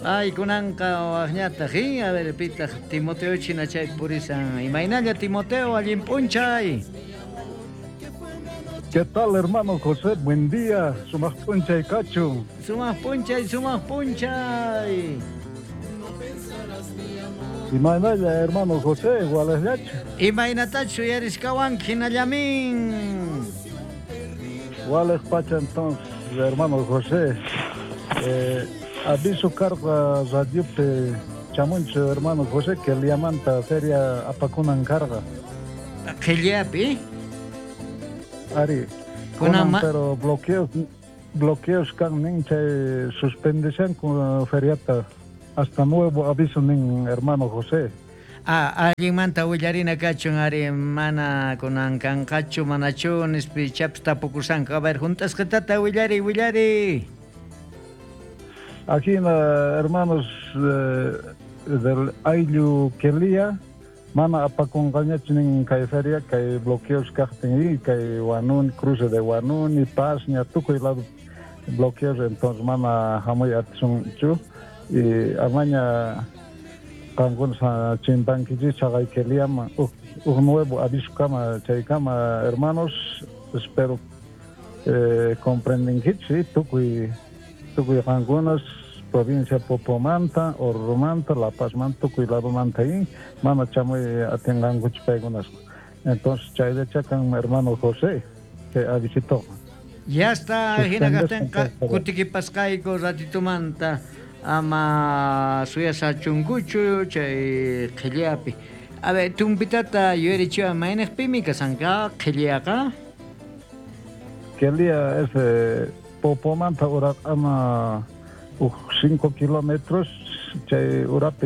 Ay, kunanqa wajñataq, a ver, pitaq Timoteo china chay purisan. Imaynalla Timoteo, allin p'unchay. ¿Qué tal, hermano José? Buen día. Sumaq p'unchay kachun. Sumaq p'unchay, sumaq p'unchay. Imaynalla, hermano José, walejllachu. Imaynatachu uyariskawanki hinallamin. Walej pacha entonces, hermano José. Aviso karqa radiopi chamunchu, hermano José, que Liamanta feria apakunan karqa. Qhillapi? Ari. Kunan pero bloqueos kan nin chay suspendeshanku feriata hasta nuevo aviso nin, hermano José. Ah, allinmanta willarina kachun ari mana kunan kanqachu manachu nispi chapis tapukusanku. A ver, junt'asqitata willari, willari. Aquí, hermanos del ayllu Quelía, mana apakunqañachu nin kay feria, kay bloqueos kaqtin y kay Huanuni, cruce de Huanuni, Pasña, tukuy lado bloqueos, entonces mana hamuy atisunchu y amaña qankuna chimpankichis chaqay Queliaman uj nuevo aviso kama chaykama, hermanos, espero comprendenkichis, tukuy tukuy qankunas provincia Popomanta, Orurumanta, La Pazmanta, tukuy ladomanta y mana chamuy atinqankuchu paykunas. Entonces chayllacha kan hermano José, que avisito. Ya está, hina kaqtinqa kutikipasqayku ratitumanta ama suyasachunkuchu chay qhillapi. A ver, tumpitata yuyarichiwan mayniqpimi kasanqa qhillaqa? Quelía es Popomanta uraqama uj 5 kilómetros chay urapi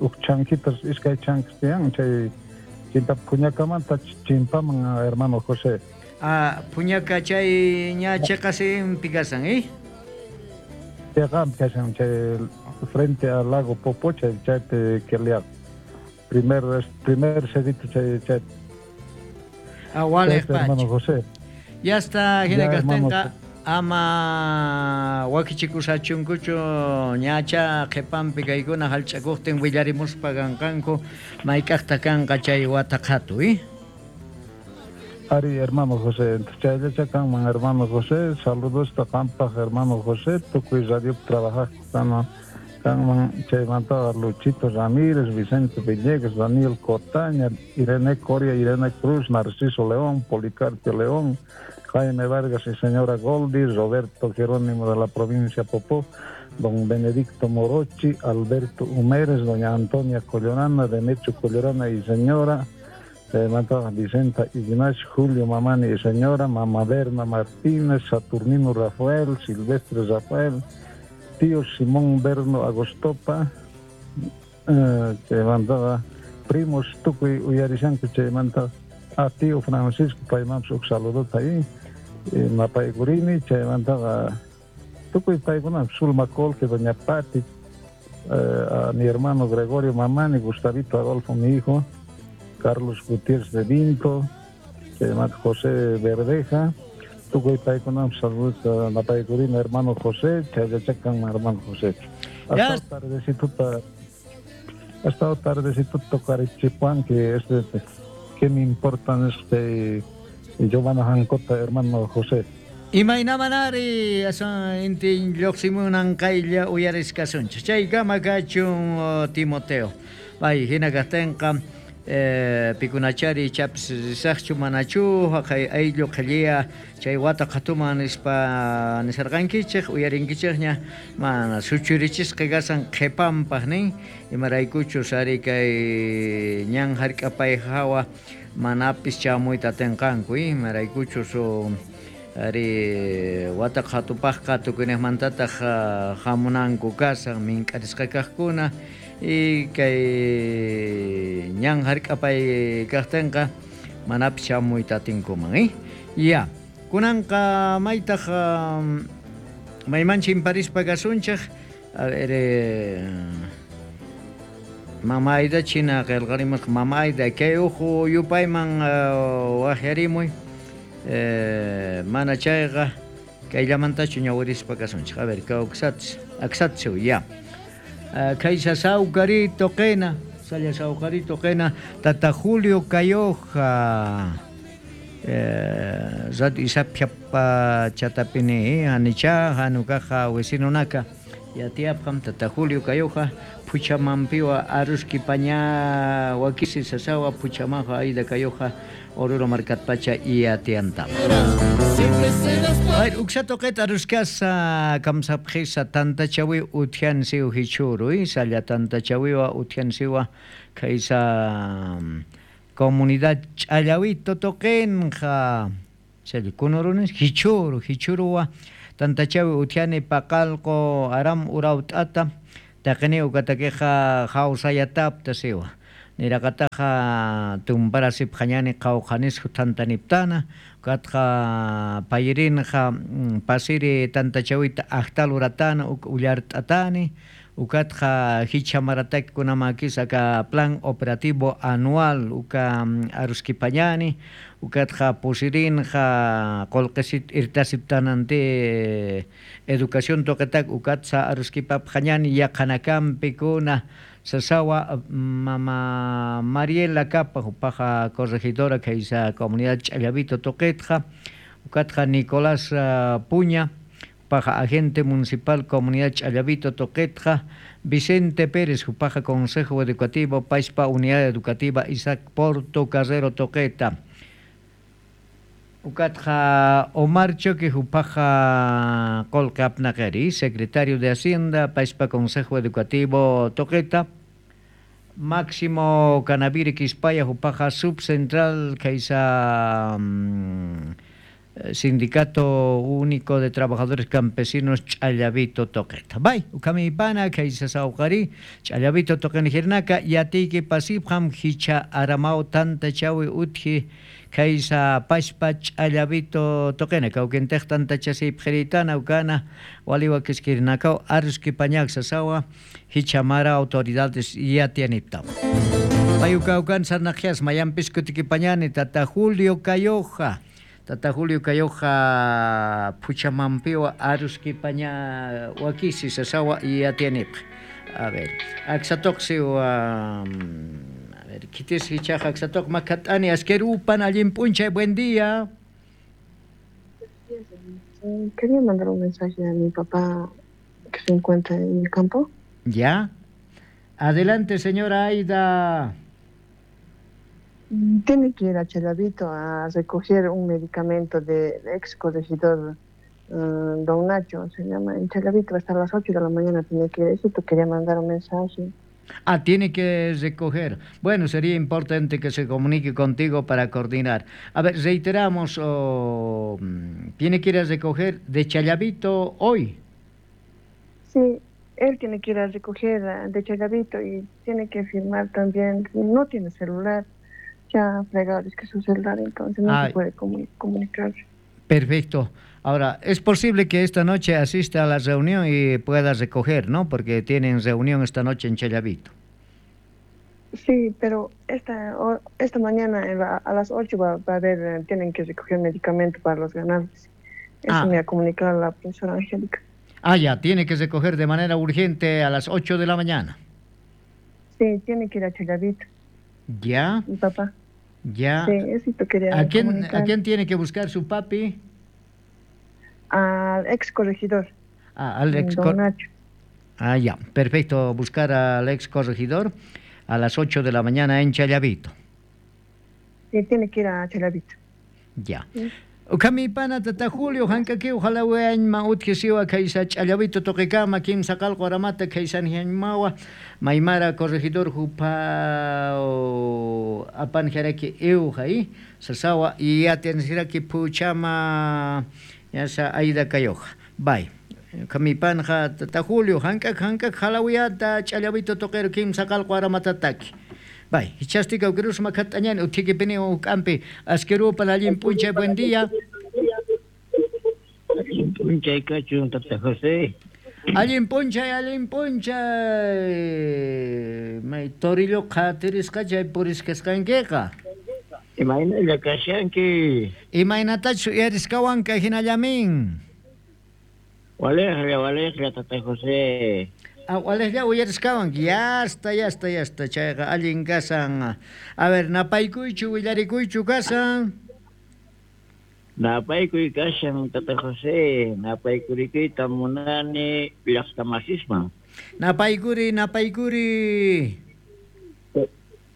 uj chanquitas iskay chanquis tiyan chay chinta Puñacamanta chimpaman, hermano José. Ah, Puñaca chay ña cheqasinpi kasan, ¿eh? Cheqanpi kasan chay frente al lago Popo chay chaypi Quelía. Primer cerrito chay chay. Ah, walej hermano José. Ya está, hina kaqtinqa ama wakichikusachunkuchu ñacha qhipanpi kaykuna hallch'akuqtin willarimuspa kanqanku mayk'aqta kanqa chay wata qhatu, ¿eh? Ari, hermano José, chayllacha kanman, hermano José, saludos qampaq, hermano José, tukuy radio trabajaq kanman chaymanta Luchito Ramírez, Vicente Villegas, Daniel Cotaña, Irene Coria, Irene Cruz, Narciso León, Policarpio León, Jaime Vargas y señora Goldi, Roberto Jerónimo de la provincia Popó, don Benedicto Morochi, Alberto Humérez, doña Antonia Collorana, Demetrio Collorana y señora, Vicenta Ignacio, Julio Mamani y señora, Mamá Berna Martínez, Saturnino Rafael, Silvestre Rafael, tío Simón Berno Agostopa, chaymanta primos tukuy uyarishanku chaymanta a tío Francisco paymanpis uj saludota ahí, napaykurini chaymantaqa tukuy paykuna Zulma Colque, doña Pati, a mi hermano Gregorio Mamani, Gustavito Adolfo, mi hijo, Carlos Gutiérrez de Vinto, chaymanta José Verdeja, tukuy paykunapas saludos napaykurina hermano José, chayllachakan hermano José. Hasta tardecito tocarichipuan que es que me importan Giovanna Jancota, hermano José. Imaynamanari asan intin lluqsimunan qaylla uyariskasunchik. Chaykama kachun Timoteo. Pay hina kaqtinqa pikunachari chapis risaqchu manachu haqay ayllu qhilliya chay wata qhatuman nispa nisarqankichik uyarinkichikña mana suchurichisqa kasan qhipanpaq nin imaraykuchus ari kay ñan hark'apay hawa manapis chamuyta atinqanku imaraykuchus ari wata qhatupaqqa tukuyniqmantataq hamunanku kasan mink'arisqa kaqkuna y kay ñan hark'apay kaqtinqa manapis chamuyta atinkuman, ¿eh? Ya, kunanqa maytaq mayman chimparispa kasunchik, a ver, Mama Aida china qillqarimusqa, Mama Aida kay uhu yupayman waqyarimuy, mana chayqa Kayllamantachu ñawirispa kasunchik. A ver, aksatsu, ya. Kaysa sawkarito qina, salla sawkarito qina, tata Julio Cayoja. Radio Isapjapa chatapini, anicha, hanukaja, vecinonaka. Yatiapjam, tata Julio Cayoja, Puchamampiwa, Aruski Paña, Wakisi Sasawa, Puchamaja, Aida Cayoja, Oruro Marcatpacha y Atianta. Ay, uksatoqet aruskasa kamsapjisa tantachawi utjansiu hichuru, salla tantachawiwa utjansiwa kaysa comunidad Ch'allawito toqenja chay kunurunis hichuru hichuruwa tantachawi utjani paqalqo aram urawt'ata taqini ukatakiqa hawsayatapta siwa niraqataqa tumparasip qañani qawqanisku tantaniptana ukatqa payirinqa pasiri tantachawita aqtaluratana ullart'atani ukatqa hichamarataki kunamakis aka plan operativo anual uka aruskipañani ukatqa pusirinqa qullqisit irtasiptanante educación toqetak ukatsa aruskipapqañani yaqhanakampi kuna sasawa mama Mariela Capa upaja corregidora kaysa comunidad Ch'allavito toqetqa ukatqa Nicolás Puña upaja agente municipal comunidad Ch'allavito toqetqa Vicente Pérez upaja consejo educativo Paispa unidad educativa Isaac Porto Carrero toqeta ukatqa Omar Choque upaja Colca Apnaqeri secretario de Hacienda Paispa consejo educativo toqeta Máximo Canaviri Quispaya upaja subcentral kaysa Sindicato Único de Trabajadores Campesinos Ch'allavito toqeta. Bay, ukamipana kaysa sawqari Ch'allavito toqenjirnaka yatiki pasipjam hicha aramau tantachawi utji kaysa pashpa Ch'allavito toqena kawkintej tantachasipjiritana ukana waliwa kiskirnakaw aruskipañak sasawa hichamara autoridades yatianipta. Payukaukan sarnajias mayampis kutikipañani tata Julio Cayoja. Tata Julio Cayoja Puchamampiwa aruskipaña wakisi sasawa yatianip. A ver, aksatoqsiw a ver, kitis hichaja aksatoq makatani askerupan allin p'unchay, buen día. Quería mandar un mensaje a mi papá que se encuentra en el campo. Ya. Adelante, señora Aida. Tiene que ir a Challavito a recoger un medicamento del ex corregidor Don Nacho, se llama. En Challavito hasta las 8 de la mañana tiene que ir. Eso te quería mandar un mensaje. Ah, tiene que recoger. Bueno, sería importante que se comunique contigo para coordinar. A ver, reiteramos, tiene que ir a recoger de Challavito hoy. Sí, él tiene que ir a recoger de Challavito y tiene que firmar también. No tiene celular. Ya fregado, es que su celular, entonces no se puede comunicar. Perfecto. Ahora, es posible que esta noche asista a la reunión y pueda recoger, ¿no? Porque tienen reunión esta noche en Challavito. Sí, pero esta mañana a las 8 va a haber, tienen que recoger medicamento para los ganados. Eso me ha comunicado la profesora Angélica. Ah, ya, tiene que recoger de manera urgente a las 8 de la mañana. Sí, tiene que ir a Challavito. ¿Ya? Mi papá. Ya. Sí, eso te quería ¿A quién tiene que buscar su papi? Al ex corregidor. Ah, al ex corregidor. Ah, ya, perfecto. Buscar al ex corregidor a las 8 de la mañana en Challavito. Sí, tiene que ir a Challavito. Ya. Sí. Ukamipana tata Julio hankaki ojalá weañma utjisiwa kaysa Ch'allavito toqikama kimsa qalqu aramata kaysanjiañmawa maymara corregidor jupa apanjaraki iwja sasawa yatiansiraki puchama yasa Aida Cayoja. Bye. Ukamipanja tata Julio hankak hankak jalawiyata Ch'allavito toqero kimsa qalqu aramatataki. Bay, hichastika ukirus makatañani utikipini ukampi askerupa allin p'unchay, buen día. Allin p'unchay kachun tata José. Allin p'unchay, allin p'unchay. May torillo qhatirisqa chay purisqasqankiqa. Imaynalla kashanki. Imaynatachu uyarisqawanka hinallamin. Walejlla, walejlla, tata José. Ah, walejlla uyarisqawan. Yasta, yasta, yasta. Chayqa allin kasan. A ver, napaykuychu, willarikuychu kasan. Napaykuy kashan, tata José. Napaykurikuyta munani llaqtamasisman. Napaykuri, napaykuri.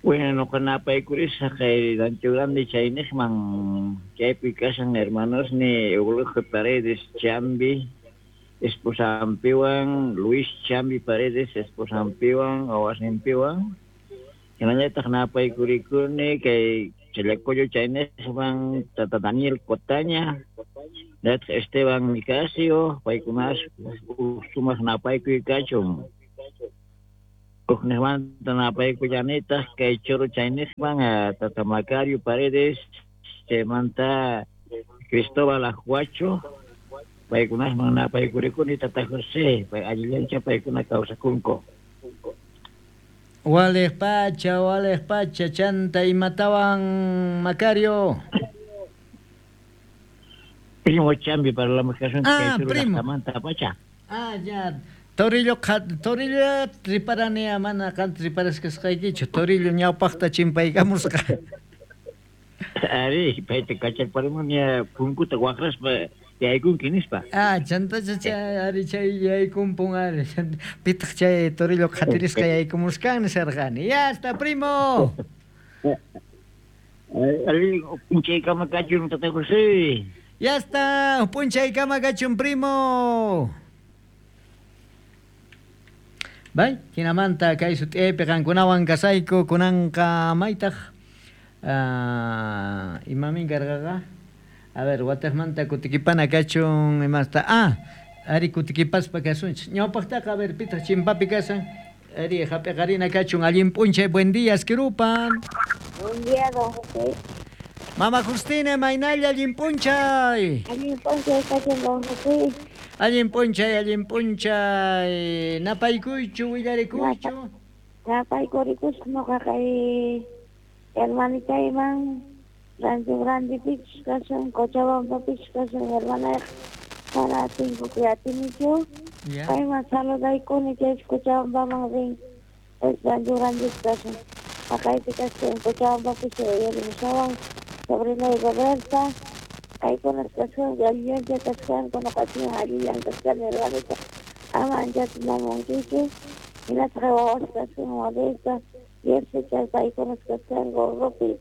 Bueno, noqa napaykurisaq kay Rancho Grande chayniqman, chaypi kashan hermanosni Eulogio Paredes Chambi, esposampiwan, Luis Chambi Paredes esposampiwan, wawasninpiwan. Hinallataq napaykurikuni kay Challacollo chayniqman tata Daniel Cotaña, hinallataq Esteban Nicasio, paykunas sumaq napaykuy kachun. Ujniqmanta napaykullanitaq kay Choro chayniqman tata Macario Paredes, chaymanta Cristóbal Ajuacho, paykunasman napaykurikuni tata José, pay allillancha paykuna kawsakunku. Walej pacha, walej pacha, chanta imatawan Macario. Primo Chambi parlamus kasunchik Ah, kay Choro primo. llaqtamanta pacha. Ah, ya. Torillo, torillo riparani mana qan riparasqaykichu. Torillo ñawpaqta chimpaykamusqa. Ari, payta kacharparimunia punkuta waqraspa yaykunki nispa. Ah, chantacha chay ari chay yaykumpun ari. Pitaq chay torillo qhatirisqa yaykumusqan nisarqani. Ya está, primo. Ari, p'unchaykama kachun tata José. Ya está, p'unchaykama kachun primo. Bay, hinamanta kay sut'iyaypi qankunawan kasayku kunanqa maytaq imamin karqaqa. A ver, wataqmanta kutikipana kachun imasta. Ah, ari kutikipaspa kasunchik. Ñawpaqtaqa a ver pitaq chimpapi kasan. Ari hap'iqarina kachun allin p'unchay, buen día, Asquirupan. Buen día, don José. Mama Justina, maynalla allin p'unchay. Allin p'unchay kachun, don José. Allin p'unchay, allin p'unchay. Napaykuychu, willarikuychu. Napaykurikusqa noqa kay hermanitayman Rancho Grande pichus kashan, Cochabamba pichus kashan, hermanayqa mana atinkukuy atinichu. Payman saludaykuni chay Cochabambaman rin, Rancho Grande kashan. Haqaypi kashan Cochabambapi uyarimushawan sobrinay Roberta. Paykunas kashan, allillancha kashanku, noqachiwan allillan kashkani hermanita. Ama anchata namunkichu. Hinataq wawas kashan Modesta, Jessica, paykunas kashanku Rupi.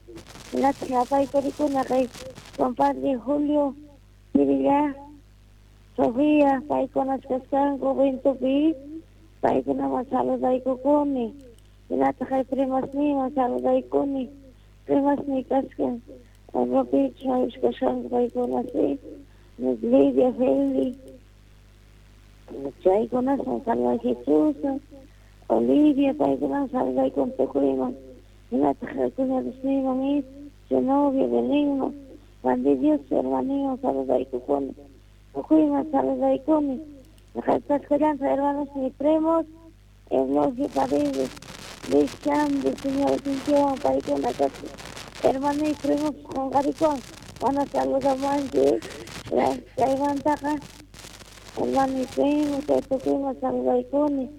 Hinataq napaykurikuna kay compadre Julio, Pirilla, Sofía, paykunas kashanku Ventupi, paykunaman saludaykukuni. Hinataq kay primasniyman saludaykuni. Primasniy kashan Rupi, kashanku paykunasi, Lidia, Feli. Chaykunasman saluday Jesús, Olivia, paykunaman saludaykun tukuyman. Hinataq cuñadosniyman is, Zenobia, Belinman, Juan de Dios, hermaniyman saludaykukuni. Tukuyman saludaykuni. Kasqallanta hermanos ni primos, Eulogio Paredes, Luis Chambi, señor Cintiawan, paykuna kasqa. Hermanos y primos qonqarikuwan, mana saludamanchik. Chaymantaqa hermano y primo, chay tukuyman saludaykuni.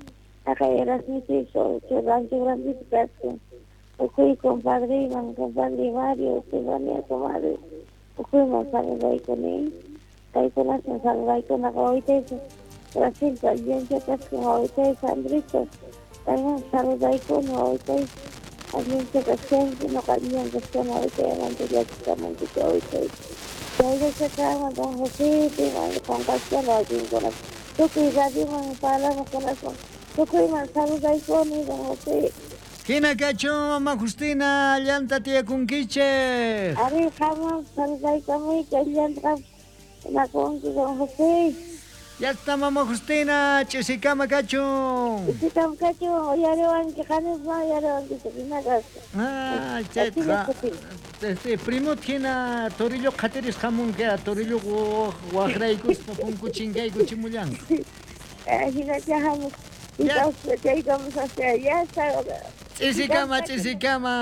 Haqay Erasmito Rancho Grandito kasqa. Tukuy compadreyman, compadre Mario, Estefanía, comadre, tukuyman saludaykuni. Paykunasman saludaykuna wawitayta Brasilpa allincha kasqa wawitay Sandrito. Payman saludaykuni wawitay allincha kasqanki, noqa allillan kashkani wawitay amanta llakikamunkichu wawitay. Chayllacha kanman don José, piman qonqashkani wakinkuna. Tukuy radioman parlamuqkunasman tukuyman saludaykuni don José. Hina kachun, Mama Justina, llanta tiyakunkichik. Ari, qamman saludaykamuyki, allanta nakunki don José. Ya está, Mama Justina, ch'isikama kachun. Ch'isikama kachun, uyariwanki, qanisman uyariwanki, hina kasqa. Ah, chayqa. Este, primot hina torillo qhatiris hamunki, torillo waqraykuspa punku chinkaykuchimullanqa. Hinacha hamus. Ya. Chaykamusaq, ya está. Ch'isikama, ch'isikama.